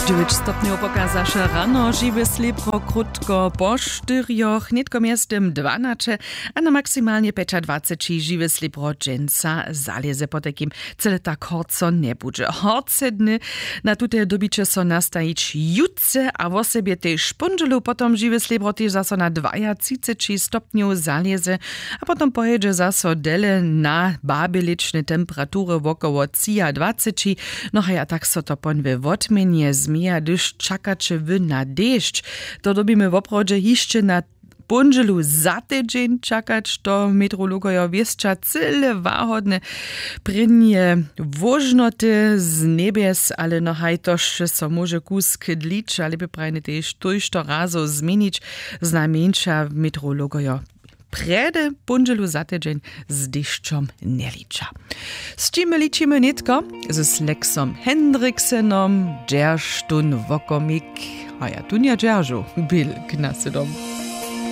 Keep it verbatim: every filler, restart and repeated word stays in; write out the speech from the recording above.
Dźewjeć stopnjow pokazaše rano, žiwe slěbro krótko po štyrjoch, nětko mjeztym dwanaće, a na maksimalnje pjećadwaceći žiwe slěbro dźensa zalěze, potajkim cyle tak horco njebudźe. Horce dny na tute dyrbiće so nastajić jutře a wosebje tež póndźelu, potom žiwe slěbro tež zaso na dwajatřiceći stopnjow zalěze, a potom pojědźe zaso dele na babjelěčne temperatury wokoło třiadwaceći. No haj, a tak so to pon we wotměnje změja, hdyž čakaće wy na dešć. To dyrbimy woprawdźe hišće na póndźelu za tydźeń čakać, to meteorologojo wěsća cyle wahodne. Prěnje wóžnoty z njebjes, ale no haj, to sće so móže kusk dlić a lěpje prajnje tež tójšto razow změnić, znajmjeńša meteorologojo prjedy póndźelu za tydźeń z dešćom njeliča. Z čim ličimy nětko? Z Lexom Hendriksenom, dźerž tón wokomik, a ja tón ja dźeržu, bilk na sydom.